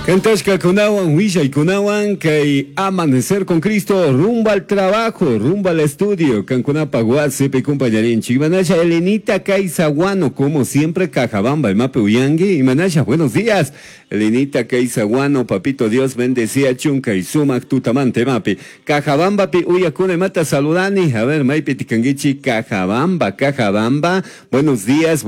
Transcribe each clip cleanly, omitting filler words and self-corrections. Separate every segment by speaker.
Speaker 1: Kantashkakunawan willaykunawan kay Amanecer con Cristo rumbo al trabajo, rumbo al estudio, kankunapaj wasipi compañerinchik. Imanasha Elenita Kaisaguano, como siempre, Cajabamba, imapi uyangi. Imanasha, buenos días. Elenita Kaisaguano, papito Dios bendecía chunka y sumak tutamante mapi. Cajabamba pi uyakuna imata saludani. A ver, maypi tikanguichi, Cajabamba, Cajabamba. Buenos días,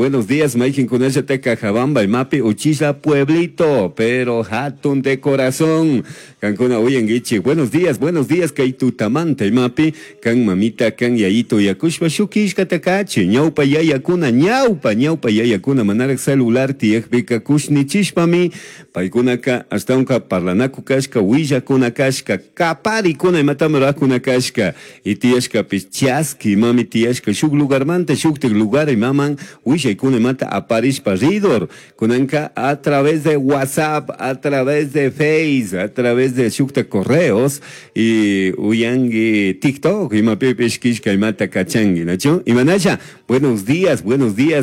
Speaker 1: maykin kunallata Cajabamba, imapi uchilla pueblito, pero hatun de corazón. Kankuna uyanguichi. Buenos días, kay tutamante imapi. Kan mamita, kan yayito yakushpa shukishka takachi. Ñaupa yayakuna, ñaupa, ñaupa yayakuna, manarak celular tiyakpika kushnichishpami. Paykunaka ashtawanka parlanaku kashka, willakuna kashka, kaparikuna imatami rurakuna kashka. Y tiyashkapish chaski imami tiyashka shuk lugarmanta shuktik lugar imaman willaykuna imata aparishpa ridor. Kunanka a través de WhatsApp, a través de Face, a través de shukta correos y uyangi TikTok imapipish kishka imata kachangi, ¿nachu? Imanasha, buenos días,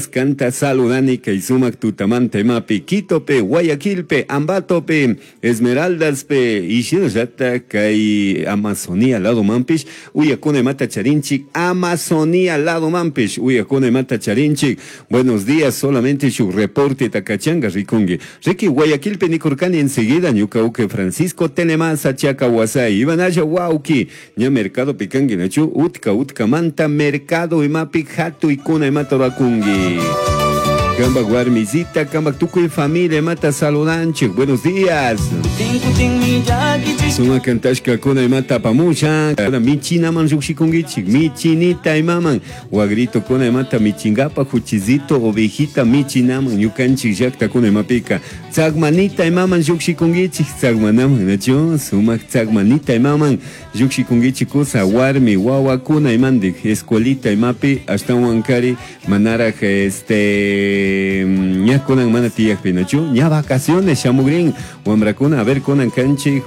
Speaker 1: canta saludani kay sumak tutamanta imapi, Quitope, Guayaquilpe, Ambatope, Esmeraldaspe, y shinallata kay Amazonía lado mampish, uyakuna imata charinchik, Amazonía lado mampish, uyakuna imata charinchik. Buenos días, solamente su reporte takachanga rikungi. Riki Guayaquilpe nikurkani enseguida, ñuka uke Francisco Tenemasa Chaca Huasay, Ibanaya Wauki, ña mercado pikangi nachu, utka utka manta mercado imapi hatu ikuna imata rakungi. Kamba guarmizita, kamba tukuy familia mata saludanchik. Buenos días. Suma kantashka kuna imata pamusha. Michina man llukshikungichik. Michinita imaman. Wagrito kuna imata michingapa juchizito ovejita michinaman. Ñukanchik llakta kuna imapika. Tsagmanita imaman llukshikungichik. Tsagmanaman nachu. Sumak tsagmanita imaman. Llukshikungichik kusa warmi wawa kuna imandik. Escuelita imapi. Ashtawankari manaraj ña kunan mana tiyakpi nachu. Ña vacaciones shamugrin. Wamrakuna, a ver kunan kanchik,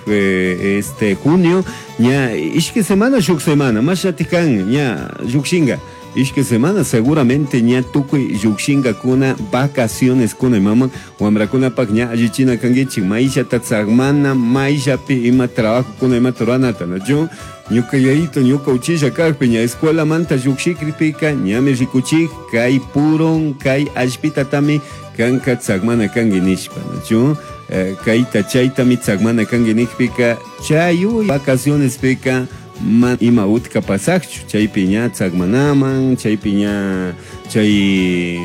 Speaker 1: junio, ña ishki semana shuk semana, mashatikan ña llukshinga. Ishki semana seguramente ña tukuy llukshinga kuna vacaciones kuna mama wamrakuna pak ña allichina kangichik maishata tsagmana maishapi ima trabajo kuna ima turanata nachu. Ñuka yayito ñuka uchilla kakpi ña escuela manta llukshikpika ñami rikuchik kay puron kay allpitatami kanka tsagmana kangi nishpa nachu. Kayta chaytami tsagmana kangi nikpika chayuy vacaciones pika ma ima utka pasakchu chaypi ña tsagmanaman chaypi ña chay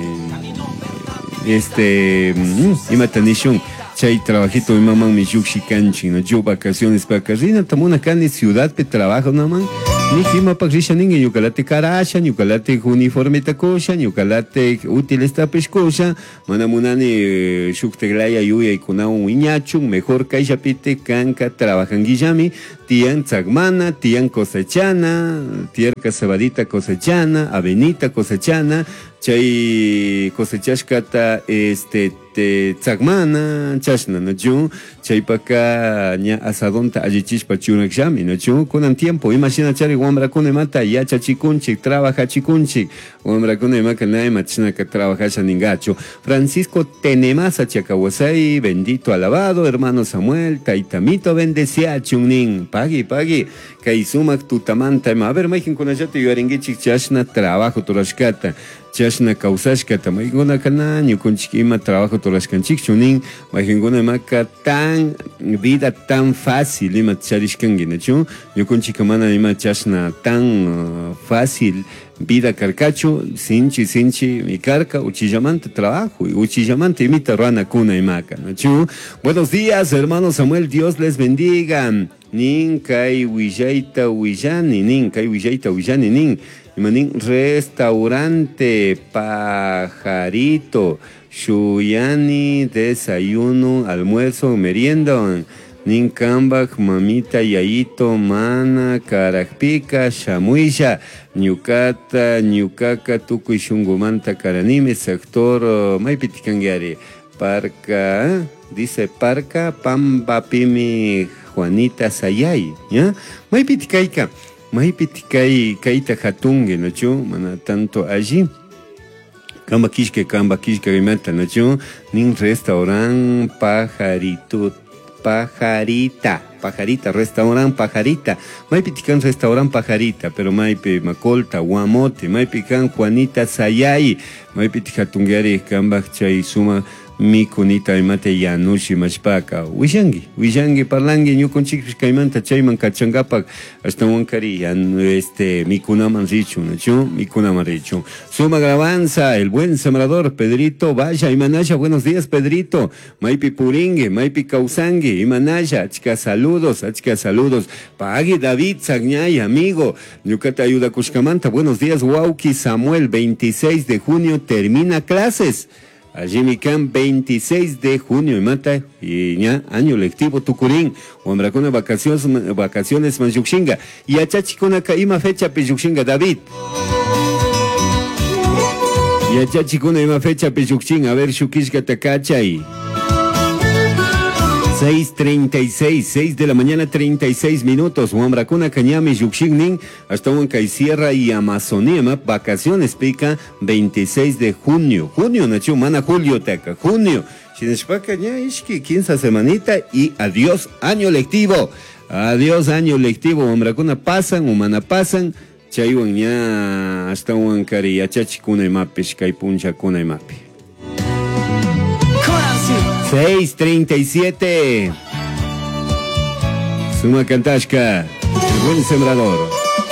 Speaker 1: imata nishun chay trabajito imaman mi llukshikanchik no yo vacaciones pa rina tamuna kani ciudad pe trabajo naman ni imapak risha ningi ñukalate karasha ñukalate uniforme kusha ñukalate útiles tapish kusha mana munani shukteglaya yuyaykunawan wiñachun mejor kayllapite kanka trabajanguillami tiyan tsagmana tiyan cosechana tierka cebadita cosechana avenita cosechana chay cosechashkata te tsagmana chashna nachu chaypaka ña asadonta allichishpa churakllami nachu kunan tiempo imashina chari wamrakuna imata yachachikunchik trabajachikunchik wamrakuna imaka na imachinaka trabajasha ningachu. Francisco Tenemasa Chacahuasay, bendito alabado hermano Samuel taitamito bendeciachun nin pagui pagui kay sumak tutamanta ima a ver maykin kunallata yuyarinkichik chashna trabajo turashkata chashna kawsashkata maykunaka na ñukunchik ima trabajo turashkanchikchu nin maykinkuna imaka tan vida tan fácil ima charishkanki nachu ñukunchika mana ima chashna tan fácil vida karkachu sinchi sinchi mi karka uchillamanta trabajo uchillamanta imita ruanakuna imaka nachu. Buenos días hermano Samuel, Dios les bendiga. Nin kay willayta willani nin kay willayta willani nin imanin restaurante pajarito shuyani desayuno almuerzo merienda nin kambak mamita yayito mana karakpika shamuisha ñukata ñukaka tukuy shungumanta karanimi sector maypitikanguiari parca dice parca pampapimi Juanita Sayay, ¿ya? Maypitikayka, maypitikay kayta hatungi, nachu, mana tanto allí. Kamba kishka, kamba kishka imata, nachu, nin restaurant pajarito, Pajarita. Pajarita, restaurant Pajarita. Maypi kan restaurant Pajarita, pero maypi Macolta, Guamote, maypi kan Juanita Sayay, maypi hatungari kambaj chay suma mikunita imata yanushi mashpaka. Willangi, willangi, parlangi, ñukunchikpish kaymanta chayman kachankapak ashtawankari yan, este, mikunaman richun, ¿nachu? Mikunaman richun. Suma alabanza, el buen sembrador, Pedrito, vaya, imanaya, buenos días, Pedrito. Maypi puringue, maypi kawsangi, imanaya, achka saludos, achka saludos. Pagui David Sagñay, amigo, ñukata ayuda kushkamanta, buenos días, Wauki Samuel, 26 de junio termina clases. Allí kan 26 de junio, mata y ña, año lectivo tukurin, wamrakuna vacaciones, vacaciones man llukshinga. Y achachikunaka ima fecha pi llukshinga, David. Yachachikuna ima fecha pi llukshin, a ver, shukishka takachay. 6:36, 6 de la mañana 36 minutos. Wamrakuna ñami llukshin hasta kay Sierra y Amazonía, ma, vacaciones pica 26 de junio. Junio, nachu, mana julio taka, junio. Shinashpaka ña ishki 15 semanita y adiós año lectivo. Adiós año lectivo. Wamrakuna pasan, umana pasan. Chaywan ña hasta kari yachachikuna imapish kay punchakuna imapi. 6:37. Suma Kantashka, el buen sembrador.